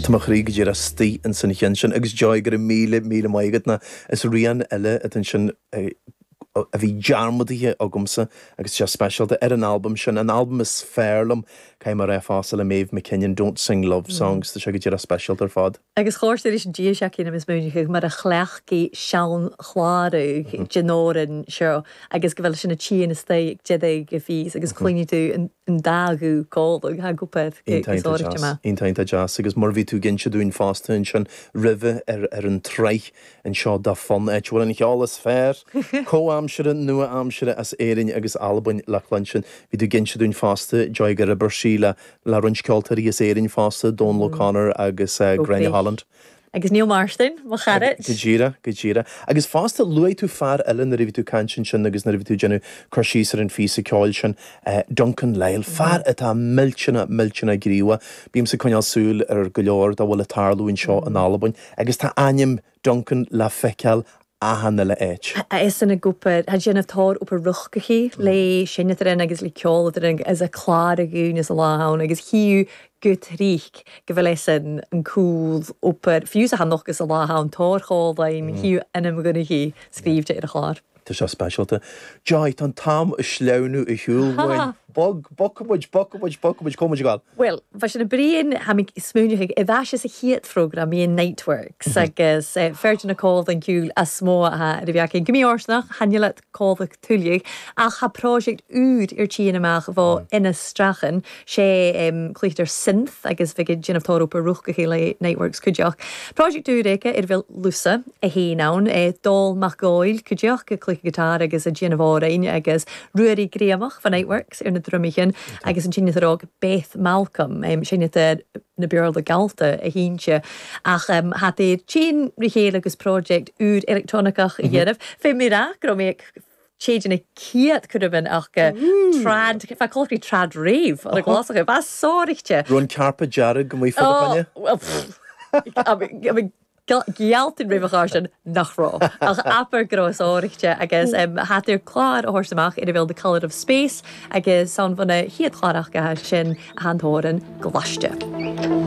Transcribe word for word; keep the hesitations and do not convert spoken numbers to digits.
Tá mo chroí go díreach istigh in san cheann sin agus Joy go raibh míle míle maith agat na is rian eile atá sin a bhí dearmadaithe agamsa agus sé speisialta ar an albam sin an albam is fearr liom cai mar fása le Maeve McKinnon don't sing love songs tá sé go díreach speisialta ar fad. Agus chóir is dí se cin is múncha mar a chleachí sean chláú denóran seo agus go bhfuil sin na tí is de go fís agus cluine tú an dagú cóla ha gope Iontach deas agus mar bhí tú ag inse dúinn fosta ansin roimhe ar ar an tsraith anseo da fon eit bhfuil an cheol is fearr comhaimseartha nua-aimseartha as Éirinn agus Albain le cluinstin. Bhí tú ag inse dúinn fosta Joy gur oibir sí le le roinnt ceoltóirí as Éirinn fosta Donal O'Connor agus uh, Gráinne Holland. Agus Neil Marston mo chara. Go díreach go díreach. Agus fosta luaigh tú fear eile nuair a bhí tú ag caint ansin agus nuair a bhí tú ag déanamh cur síos ar an phíosa ceoil sin uh, Duncan Lyle, fear atá millteanach millteanach gníomhach, Bímse ag coinneáil súil ar go leor dá bhfuil ag tarlú anseo in Albain, agus tá ainm Duncan le feiceáil achan uile áit. Is an grúpa ha déanamh tá op a ruchaí le sinnean agus le ceol as a chlár a gún is a lá agus hiú go tríich go bhfuil san an cúl oper fiú a noch agus a lá an tórcháhaim hiú anam gona hí scríobhte ar a chlár. Tá sé speisialta. Joy tá an t-am ag sleamhnú ar shiúl uainn. Bog bomuid bomuid bomuid comuid gáil. Well, bha sin a brion ha smúneach i bheit is a chéad phrógram í Nightworks agus feidir na cód an cúl a smó a a bheith go mí ársnach hanile cóach tulig ach ha project úd ar tí amach bh ina strachan sé cluitar synth agus bhí ginmh tá op ruch go chéile Nightworks cuideach. Project úr éice ar bhfuil lusa a hé ann é dól mac gáil cuideach go cluiche gitar agus a déanamh árain agus ruairí gréamach fan Nightworks ar na drumichin agus an sinne rá Beth Malcolm um, sinne na bearla galta a hínse ach um, hat é tsin ri chéile agus project úr electronicach a dhéanamh. Fé mé rá go mé séidir na céad chu ach trad fa choí trad rave ar a glásach bh sórichte. Ron carpa dearg go mí fanne? Gealtin rih sin nach rá ach apar gros áirichte agus um, hair chlár a amach ina bhfuil the Colour of Space agus san bhna hiad chlárach go sin a hantóran ghlaiste.